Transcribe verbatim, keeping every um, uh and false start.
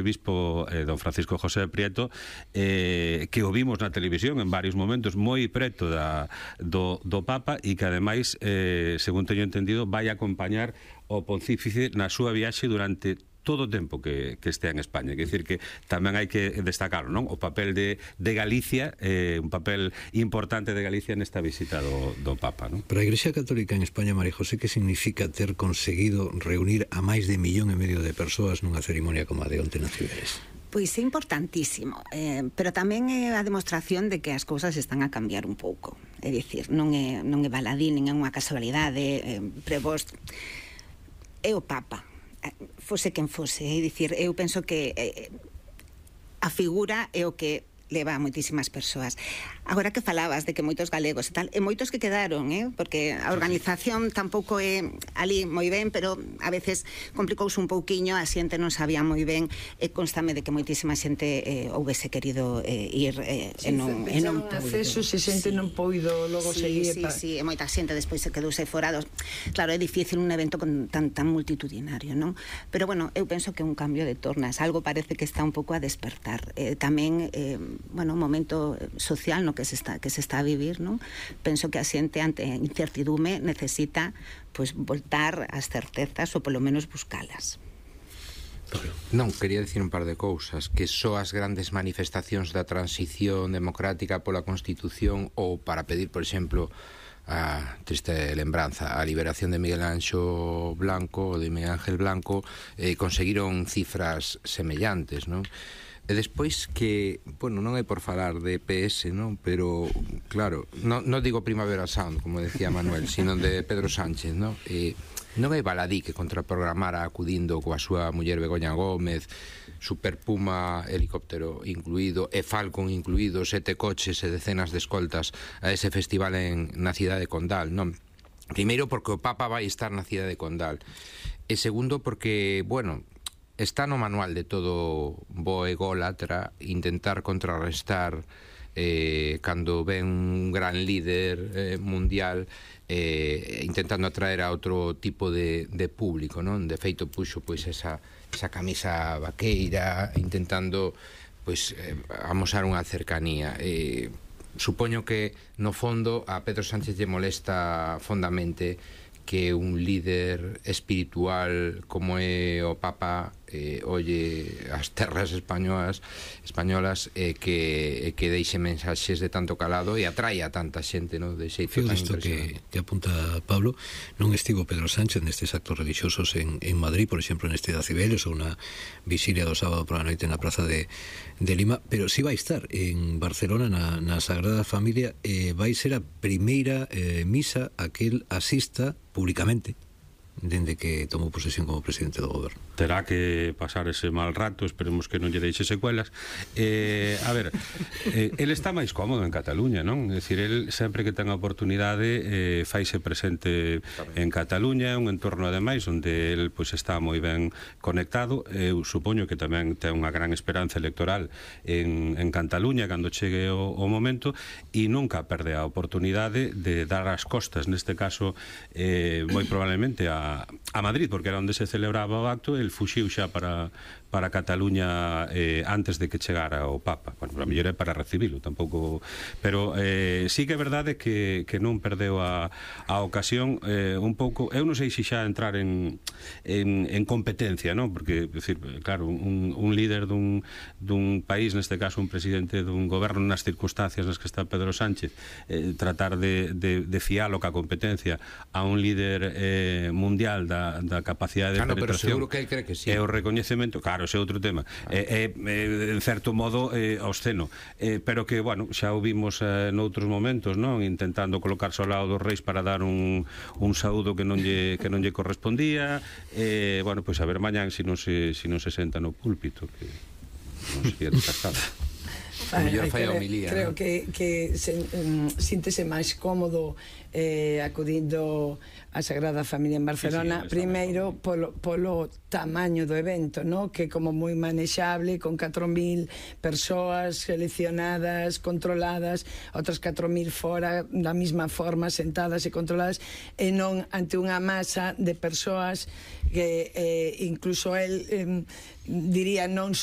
Bispo eh, don Francisco José Prieto, eh, que o vimos na televisión en varios momentos moi preto da, do, do Papa, e que ademais, eh, según teño entendido, vai acompañar o Pontífice na súa viaxe durante todo o tempo que, que estea en España. Quer dicir que tamén hai que destacarlo, non? O papel de, de Galicia, eh, un papel importante de Galicia nesta visita do, do Papa, non? Para a Igrexa Católica en España, María José, que significa ter conseguido reunir a máis de millón e medio de persoas nunha cerimonia como a de onte na Ciberes? Pois é importantísimo, eh, pero tamén é a demostración de que as cousas están a cambiar un pouco. É dicir, non é, non é baladín, nin é unha casualidade, eh, prevos... É o Papa, fose quen fose, é dicir, eu penso que eh, a figura é o que leva a moitísimas persoas. Agora que falabas de que moitos galegos e tal, e moitos que quedaron, eh? Porque a organización tampouco é ali moi ben, pero a veces complicouse un pouquiño, a xente non sabía moi ben, e constame de que moitísima xente eh, houvese querido eh, ir eh, sí, e non, e non acceso, se xente sí. non poido logo sí, seguir. Sí, pa... sí, e moita xente despois se quedouse forados. Claro, é difícil un evento con tan, tan multitudinario, non? Pero bueno, eu penso que un cambio de tornas, algo parece que está un pouco a despertar. Eh, tamén, eh, bueno, un momento social no que se está que se está a vivir, non? Penso que a xente ante a incertidume necesita pois voltar ás certezas ou polo menos buscalas. Non, quería dicir un par de cousas, que só as grandes manifestacións da transición democrática pola Constitución, ou para pedir, por exemplo, a triste lembranza, a liberación de Miguel Anxo Blanco, de Miguel Ángel Blanco, eh, conseguiron cifras semellantes, non? E despois que, bueno, non é por falar de E P S, non? Pero, claro, non, non digo Primavera Sound, como decía Manuel, sino de Pedro Sánchez, non? E non é baladí que contraprogramara acudindo coa súa muller Begoña Gómez, Super Puma helicóptero incluído e Falcon incluído, sete coches e decenas de escoltas a ese festival en, na cidade de Condal, non? Primeiro porque o Papa vai estar na cidade de Condal, e segundo porque, bueno, está no manual de todo bo ególatra intentar contrarrestar eh, cando ven un gran líder eh, mundial eh, intentando atraer a outro tipo de, de público, non? De feito puxo pois esa, esa camisa vaqueira intentando pois eh, amosar unha cercanía. Eh, supoño que no fondo a Pedro Sánchez lle molesta fondamente que un líder espiritual como é o Papa eh, olle as terras españolas españolas eh, que, eh, que deixe mensaxes de tanto calado e atraia a tanta xente, no? De xeito tan que, impresionante. que apunta Pablo, non estivo Pedro Sánchez nestes actos religiosos en, en Madrid, por exemplo, neste da Cibeles ou na visilia do sábado por a noite na praza de, de Lima, pero si vai estar en Barcelona na, na Sagrada Familia, eh, vai ser a primeira eh, misa a que el asista públicamente dende que tomou posesión como presidente do goberno. Terá que pasar ese mal rato, esperemos que non lle deixe secuelas. Eh, a ver, eh, el está máis cómodo en Cataluña, non? É dicir, el sempre que ten a oportunidade eh, faise presente en Cataluña, un entorno ademais onde el pois está moi ben conectado. Eu supoño que tamén ten unha gran esperanza electoral en, en Cataluña cando chegue o, o momento, e nunca perde a oportunidade de dar as costas, neste caso eh, moi probablemente a a Madrid, porque era onde se celebraba o acto. El fuxiu xa para para Cataluña eh, antes de que chegara o Papa. Bueno, a mellor é para recibilo, tampouco, pero eh, sí que é verdade que, que non perdeu a, a ocasión eh, un pouco. Eu non sei se xa entrar en, en, en competencia, non? Porque, decir, claro, un, un líder dun, dun país, neste caso un presidente dun goberno nas circunstancias nas que está Pedro Sánchez, eh, tratar de, de, de fialo ca competencia a un líder eh, mundial da, da capacidade de ah, no, penetración. pero seguro que ele cree que sí. E o recoñecemento, claro, ese é outro tema. É, é, en certo modo, é, obsceno. É, pero que, bueno, xa o vimos eh, noutros momentos, non? Intentando colocarse ao lado dos reis para dar un, un saúdo que non lle, que non lle correspondía. Eh, bueno, pois a ver mañán se non se, se non se senta no púlpito, que non sería descartado. A mellor fai a creo, homilía, creo ¿no? que, que se, um, síntese máis cómodo eh, acudindo a Sagrada Familia en Barcelona, Sí, sí, primeiro polo, polo tamaño do evento, ¿no? Que como moi manexable, con catro mil persoas seleccionadas, controladas, outras catro mil fora da mesma forma, sentadas e controladas, e non ante unha masa de persoas que eh, incluso el eh, diría non son